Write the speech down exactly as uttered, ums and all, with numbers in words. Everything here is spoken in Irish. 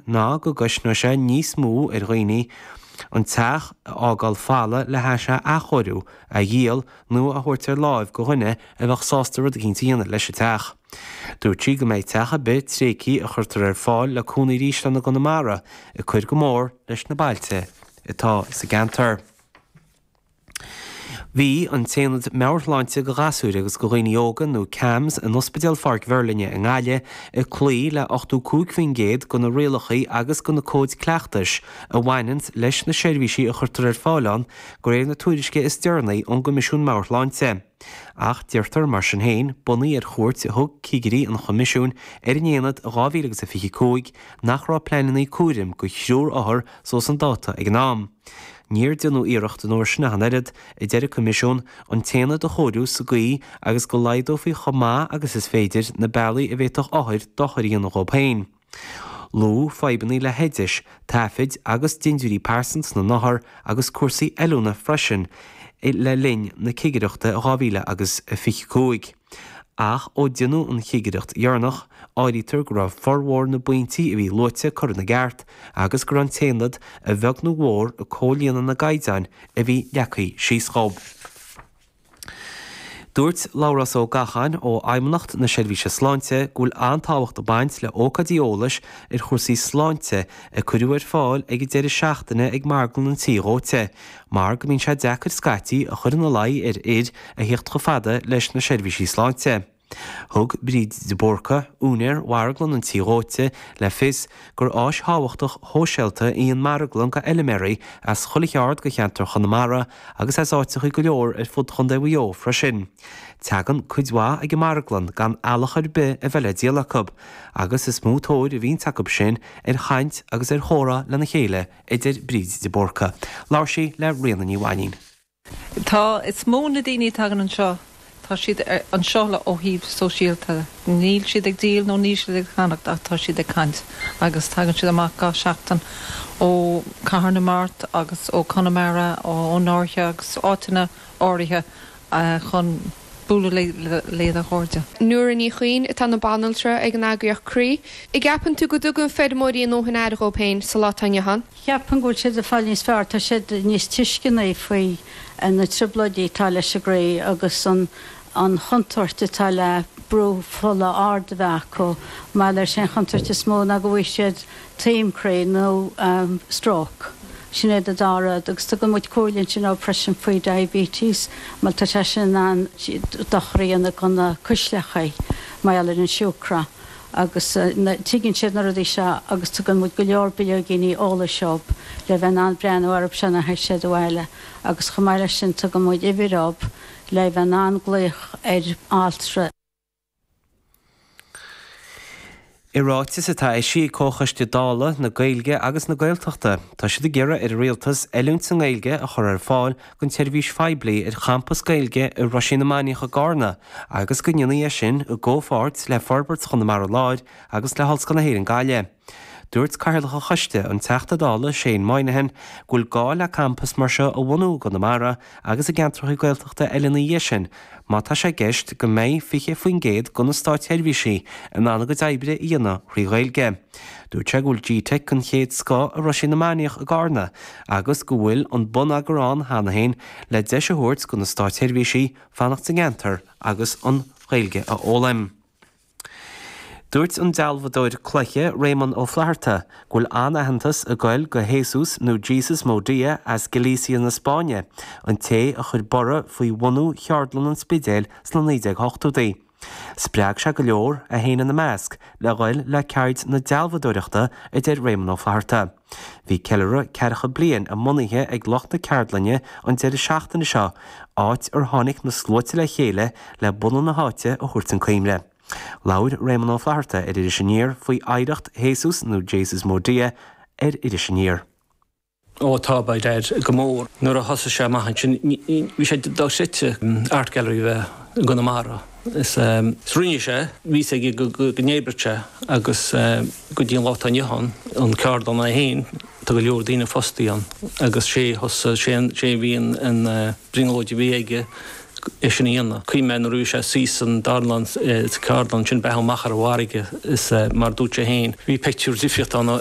ná go gcosnóidh sé níos mó ar dhaoine an teach a fhágáil folamh le hais a athchóiriú, a dhíol nó a thabhairt ar láimh go dhuine a bheadh sásta rud eicínt a dhéanamh leis an teach. Dúirt sí go mbeidh teach ar bith tréigthe a chuirtear ar fáil le cónaí arís ann i gConamara ag cur go mór leis na bailte atá sa gceantar. Bhí an tAonad Meabhairshláinte do Ghasúir agus do Dhaoine Óga, nó CAMHS, in Ospidéal Pháirc Mheirlinne i nGaillimh ag cloí le ochtó cúig faoin gcéad de na rialacha agus de na cóid cleachtais a bhaineanns leis na seirbhísí a chuirtear ar fáil ann, de réir na tuairisce is deireanaí ón gCoimisiún Meabhairshláinte. Ach deirtear mar sin féin, bunaithe ar chuairt a thug cigirí an Choimisiúin ar an aonad i dhá mhíle agus a fiche cúig, nach raibh pleananna cúraim do thriúr othar suas chun dáta ag an am. Níor deineadh iarracht an uair sin ach an oiread, a deir an Coimisiún, an t-aonad a chóiriú sa gcaoi agus go laghdófaí chomh maith agus is féidir na bealaí a bhféadfadh othair dochar a dhéanamh dhóibh féin. Luadh fadhbanna le hoidis, taifid agus dintiúirí pearsanta na n-othar agus cúrsaí oiliúna freisin le linn na cigireachta i dhá mhíle agus a fiche cúig. Ach ó deineadh an chigireacht dheireanach, áirítear go raibh formhór na bpointí a bhí luaite curtha ina gceart agus go raibh an t-aonad, a bheag nó a mhór, ag comhlíonadh na gcaighdeán a bhí leagtha síos dhó. Dúirt Labhrás Ó Gacháin ó Fheidhmeannacht na Seirbhíse Sláinte go bhfuil an-tábhacht ag baint le hócáidí eolais ar chúrsaí sláinte a cuireadh ar fáil ag an deireadh seachtaine ag Marglann an Tí Dhóite mar go mbíonn sé deacair scaití a chur ina luí ar fhir a theacht chomh fada leis na seirbhísí sláinte. Thug Bríd de Búrca, úinéir Mharglann an Tí Dhóite, le fios gur áis thábhachtach shóisialta í an marglann do fheilméaraí as chuile cheard de cheantar Chonamara agus as áiteacha go leor ar fud Chontae Mhaigh Eo freisin. Tagann cuid mhaith ag an marglann gan eallach ar bith a bheith le díol acu, agus is mó tóir a bhíonns acu sin ar chaint agus ar chomhrá lena chéile, a deir Bríd de Búrca. Labhair sí le Ríona Ní Mhainín. Tá, is mó na daoine a tagann anseo, tá siad anseo le ó thaobh sóisialta. Níl siad ag díol nó níl siad ag ceannacht ach tá siad ag caint agus tagann siad amach gach seachtain ó Cathair na Mart agus ó Conamara, ón Fháirche agus áiteanna áirithe chun bualadh lena gcairde. Nóra Ní Chuinn atá ina banaltra ag an eagraíocht Croí. An gceapann tú go dtugann feirmeoirí a ndóthain aire dhóibh féin sa lá atá inniu ann? Cheapfainn go bhfuil siad ag fáil níos fearr, tá siad níos tuisceanaí faoi na trioblóidí atá leis an gcroí agus an an chontúirt atá le brú fola ard a bheith acu. Mar leis an chontúirt is mó ná go bhfaighidh siad taom croí nó stróc. Sin iad an dá rud. Agus tugann muid comhairle ansin dóibh freisin faoi diabetes mar tá sé sin in ann dochar a dhéanamh do na cuisleacha mar gheall ar an siúcra. Agus tuigeann siad na rudaí seo agus tugann muid go leor bileoigíní eolais dóibh le bheith in ann breathnú orthu seo nuair a théann siad abhaile. Agus chomh maith leis sin tugann muid uimhir dóibh le bheith in ann glaoch ar altra. I ráiteas atá eisithe ag Comhchoiste Dála na Gaeilge agus na Gaeltachta, tá siad ag iarraidh ar an Rialtas oiliúint sa nGaeilge a chur ar fáil don tseirbhís phoiblí ar champas Gaeilge i Roisín na Mainiach i gCarna agus go ndéanfaí é sin i gcomhpháirt le Forbairt Chonamara Láir agus le hOllscoil na hÉireann Gaillimh. Dúirt Cathaoirleach an Choiste, an Teachta Dála Shane Moynihan, go bhfuil gá le campas mar seo a bhunú i gConamara agus i gceantracha Gaeltachta eile ina dhiaidh sin má tá sé i gceist go mbeidh fiche faoin gcéad de na státseirbhísigh in ann a gcuid oibre a dhéanamh thrí Ghaeilge. Dúirt sé go bhfuil Gteic den chéad scoth i Roisín na Mainiach i gCarna agus go bhfuil an bonneagar ann cheana féin le deis a thabhairt do na státseirbhísigh fanacht sa gceantar agus an Ghaeilge a fhoghlaim. Dúirt an dealbhadóir cloiche Réamonn Ó Flatharta go bhfuil an-aitheantas ag goil go Jesus nó Jesus Modia as Galicia na Spáinne, an té a chuir borradh faoi bhunú Cheardlann an Spidéil sna naoi déag ochtóidí. Spreag sé go leor, é féin ina measc, le ghoil le ceird na dealbhadóireachta, a deir Réamonn Ó Flatharta. Bhí ceiliúradh ceathracha bliain a mbunaithe ag lucht na ceardlainne an deireadh seachtaine seo, áit ar tháinig na sluaite le chéile le bunadh na háite a thabhairt chun cuimhne. Labhair Réamonn Ó Flatharta ar Iris Aniar faoi oidhreacht Jesus nó Jesus Modia ar Iris Aniar. Ó tá, by dad, go mór. Nuair a thosaigh sé amach ansin bhí sé dochreidte Art Gallery a bheith i gConamara. Is rinne sé, bhí 'fhios aige go n-oibreodh sé agus go dtí an lá atá inniu ann, an ceardlann é féin, tá go leor daoine fostaithe ann agus sé thosaigh, sé a bhí an brionglóid a bhí aige é sin a dhéanamh. Cuimhin mé nuair a bhí sé suí san dánlann sa cheardlann sin breathnú amach ar an bhfarraige is mar dúirt sé féin, bhí pictiúr difríocht ann